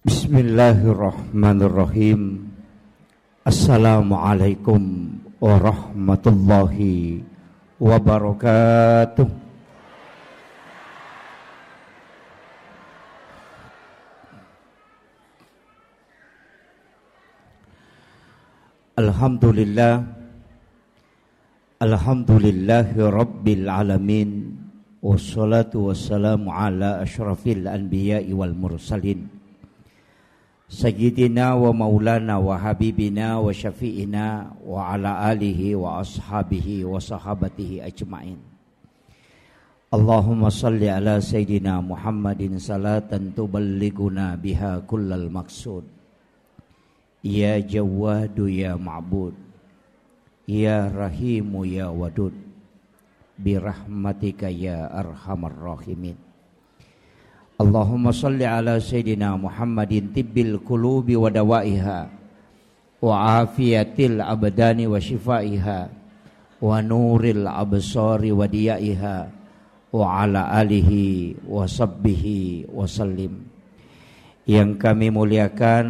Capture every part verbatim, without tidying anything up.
Bismillahirrahmanirrahim. Assalamualaikum warahmatullahi wabarakatuh. Alhamdulillah. Alhamdulillahi rabbil alamin. Wassalatu wassalamu ala asyrafil anbiya'i wal mursalin. Sayyidina wa maulana wa habibina wa syafi'ina wa ala alihi wa ashabihi wa sahabatihi ajma'in. Allahumma salli ala Sayyidina Muhammadin salatan tuballighuna biha kullal maqsud. Ya Jawwadu ya Ma'bud, ya Rahimu ya Wadud, birahmatika ya arhamar rahimin. Allahumma salli ala Sayyidina Muhammadin tibbil qulubi wa dawaiha, wa afiyatil abdani wa shifaiha, wa nuril absari wa diyaiha, wa ala alihi wa sahbihi wa sallim. Yang kami muliakan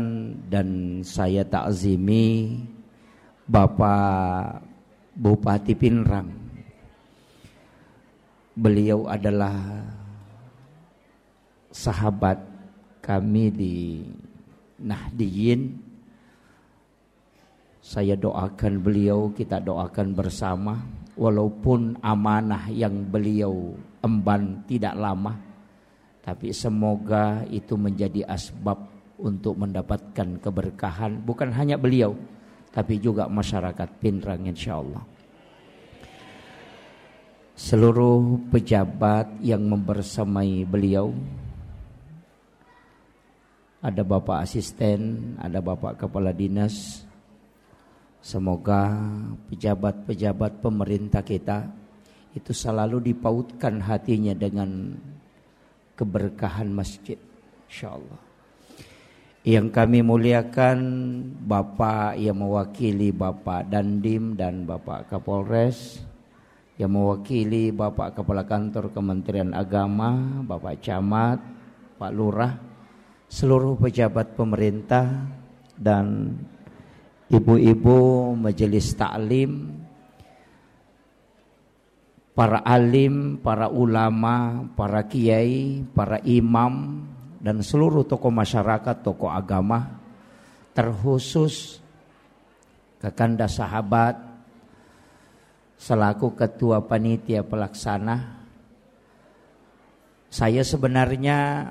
dan saya takzimi Bapak Bupati Pinrang. Beliau adalah sahabat kami di Nahdiyin. Saya doakan beliau, kita doakan bersama, walaupun amanah yang beliau emban tidak lama, tapi semoga itu menjadi asbab untuk mendapatkan keberkahan, bukan hanya beliau, tapi juga masyarakat Pinrang, insya Allah. Seluruh pejabat yang membersamai beliau, ada Bapak Asisten, ada Bapak Kepala Dinas. Semoga pejabat-pejabat pemerintah kita itu selalu dipautkan hatinya dengan keberkahan masjid, insya Allah. Yang kami muliakan, Bapak yang mewakili Bapak Dandim dan Bapak Kapolres, yang mewakili Bapak Kepala Kantor Kementerian Agama, Bapak Camat, Pak Lurah, seluruh pejabat pemerintah, dan ibu-ibu majelis taklim, para alim, para ulama, para kiai, para imam, dan seluruh tokoh masyarakat, tokoh agama, terkhusus Kakanda Sahabat selaku ketua panitia pelaksana. Saya sebenarnya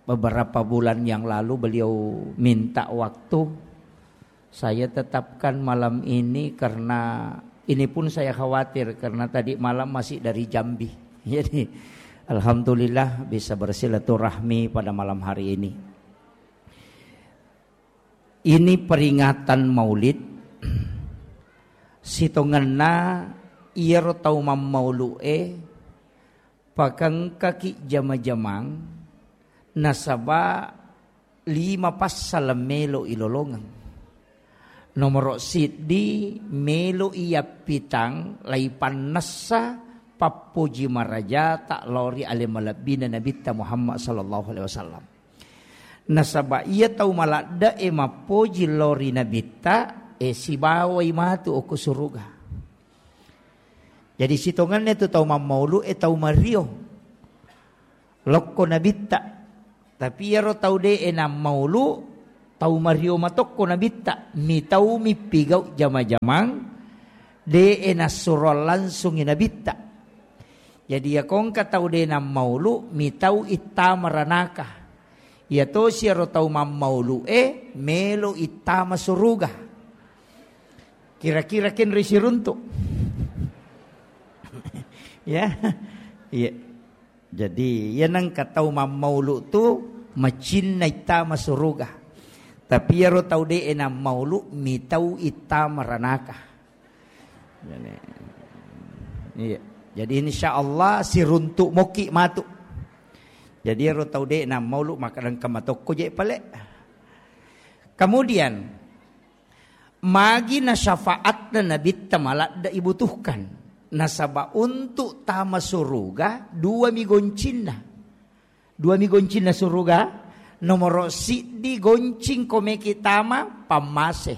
beberapa bulan yang lalu beliau minta waktu, saya tetapkan malam ini karena ini pun saya khawatir karena tadi malam masih dari Jambi. Jadi, alhamdulillah bisa bersilaturahmi pada malam hari ini. Ini peringatan Maulid. Sitongenna iyaro tau mammaulu'e pakengkaki jama-jamang, nasaba lima passala melo ilolongeng. Nomoro siddi, melo iyappitang laipannessa pappoji marajata lao ri ale malebbina Nabitta Muhammad sallallahu alaihi wasallam. Nasaba iya tau maladde'e mappoji lao ri Nabitta, e, sibawai matu okko suruga. Jadi sitongenna tu tau mammaulu'e tau mario lokko Nabitta. Tapi iyaro tau de'e nammaulu, tau mario matokko Nabitta. Mitau mippigau jama-jamang, de'e nassuroang langsungi Nabitta. Jadi, iyako engka tau de' nammaulu, mitau ittama ranaka. Iyatosi iyaro tau mammaulu'e melo ittama suruga. Kira-kira kenri siruntu'. Ya. Iya. Jadi, iya nengka tau mammaulu tu macinna ittama suruga. Tapi iyaro tau de'e nammaulu mitau ittama ranaka. Jadi, iya. Jadi, insya Allah siruntu' moki matu. Jadi, ero tau de' nammaulu maka engka matokko je' pale. Kemudian, magi na syafaatna Nabitta maladde' ibutuhkan. Nasaba' untuk tama suruga, dua mi goncinna. Dua mi goncinna suruga, Nomoro siddi, goncing ko meki tama pammase.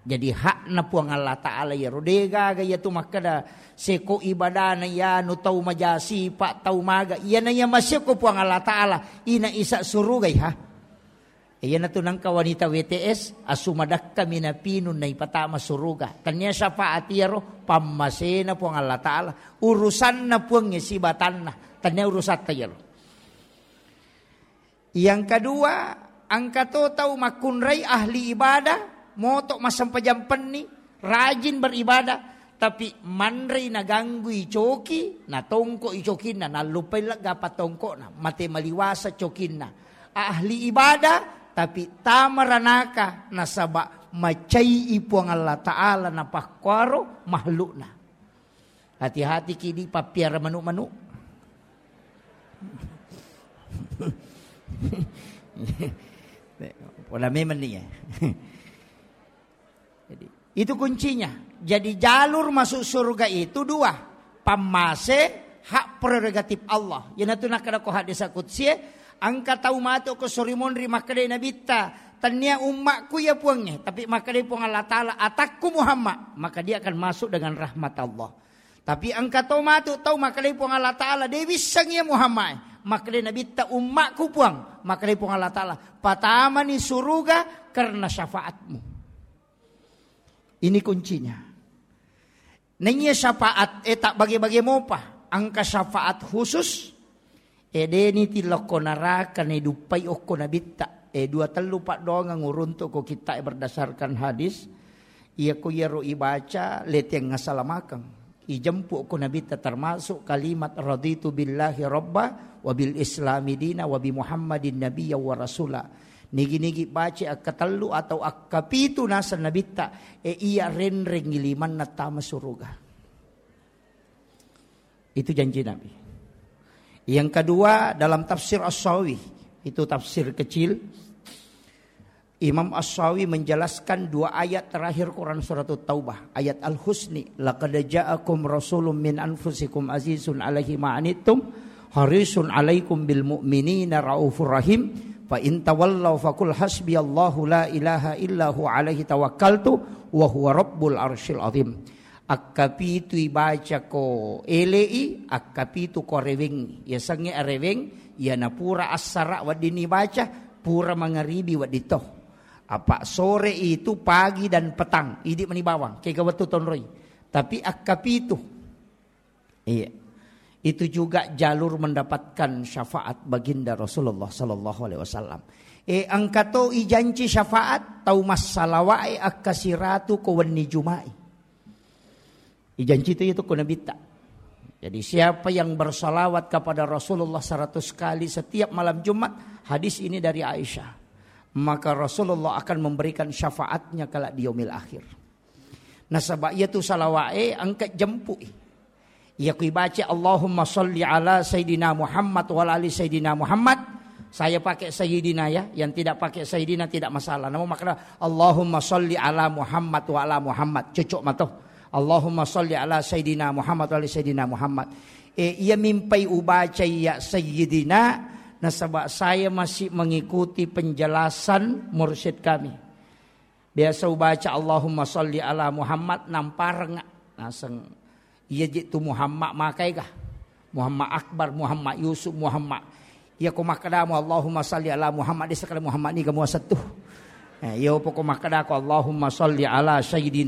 Jadi hakna Puang Allah Ta'ala iyaro. Degaga iyatu makkeda seko ibadana iyanu tau majasipa, tau maga. Iyana iya maseko Puang Allah Ta'ala, ina isa surugai ha. Iyanatu nangka wanita W T S, asu madakka minapinung naipatama suruga. Tania syafaat iyaro, pammasena Puang Allah Ta'ala. Urusanna Puangnge sibatanna. Tania urusatta iyaro. Yang kedua, engka to tau makkunrai ahli ibadah, moto massempajang penni, rajin beribadah, tapi manrei naganggui coki, natongko i cokinna, nallupai lega patongkona, mate maliwasa cokinna. Ahli ibadah, tapi tama ranaka, nasaba macai i Puang Allah Ta'ala napakkuaro makhlukna. Hati-hati ki di pappiara manu-manu. Pola memang nih ya. Jadi, itu kuncinya. Jadi jalur masuk surga itu dua. Pammase, hak prerogatif Allah. Iyanatu nakkeda ko hadis qudsi, engka tau matu ko sorimonri makkeda nabitta, tania ummakku ya Puangnge, tapi makkeda Puang Allah Ta'ala, atakku Muhammad, maka dia akan masuk dengan rahmat Allah. Tapi engka to matu tau makkedai Puang Allah Ta'ala, de wisseng iya Muhammad. Makkedai Nabitta, ummakku Puang. Makkedai Puang Allah Ta'ala, patamani suruga karena syafaatmu. Ini kuncinya. Naiya syafaat, eh, tak bage-bage mopa. Engka syafaat khusus, E, deni tillokko naraka, ne duppai okko nabitta. E, dua tellu paddoangeng uruntu ko kitta e berdasarkan hadis. Iya ko iyaro ibaca, leteng ngasalamakeng. Ijempu okko nabitta, termasuk kalimat raditu billahi rabba wa bil islami dina wa bi Muhammadin nabiyya wa rasula. Nigi-nigi baca akkatellu atau akkapitu naseng nabitta, e, iya renreng limanna tama suruga. Itu janji Nabi. Yang kedua, dalam tafsir As-Sawi, itu tafsir kecil, Imam As-Sawi menjelaskan dua ayat terakhir Quran surat Taubah, ayat Al-Husni, "Laqad ja'akum rasulun min anfusikum azizun alaihi ma anittum, harisun alaikum bil mu'minina raufur rahim, fa in tawallaw faqul hasbiyallahu la ilaha illa huwa alaihi tawakkaltu wa huwa rabbul arsyil azim." Akkapitu ibaca ko ele'i, akkapitu ko arewengngi. Yasengnge areweng, iyana pura assara weddinni ibaca, pura mangaribi wedding to. Apa sore itu, pagi dan petang, idi mani bawang, kega wettu tonroi. Tapi akkapitu. Iya. Itu juga jalur mendapatkan syafaat baginda Rasulullah sallallahu alaihi wasallam. E, engka to ijanci syafaat, tau massalawae akkasiratu ko wenni Juma'i. Ijanci tu itu ko nabitta. Jadi siapa yang bersalawat kepada Rasulullah seratus kali setiap malam Jumat, hadis ini dari Aisyah, maka Rasulullah akan memberikan syafaatnya kelak di yaumil akhir. Nasaba iyatu salawae engka jempu'i. Iya ku ibaca Allahumma salli ala Sayyidina Muhammad wa ala ali Sayyidina Muhammad, saya pakai Sayyidina ya, yang tidak pakai Sayyidina tidak masalah. Namun makna Allahumma salli ala Muhammad wa ala Muhammad, cocok mato. Allahumma salli ala Sayyidina Muhammad wa ala Sayyidina Muhammad. E, iya mimpai ubaca iya Sayyidina, nasaba saya masih mengikuti penjelasan mursyid kami. Biasa ubaca Allahumma salli ala Muhammad, nampareng naseng. Iya je tu Muhammad makai ga? Muhammad Akbar, Muhammad Yusuf, Muhammad. Iya ko makkadamu Allahumma salli ala Muhammad, desa kala Muhammad ni ga muasattu. Eh, iya poko makkadako Allahumma salli ala Sayyidina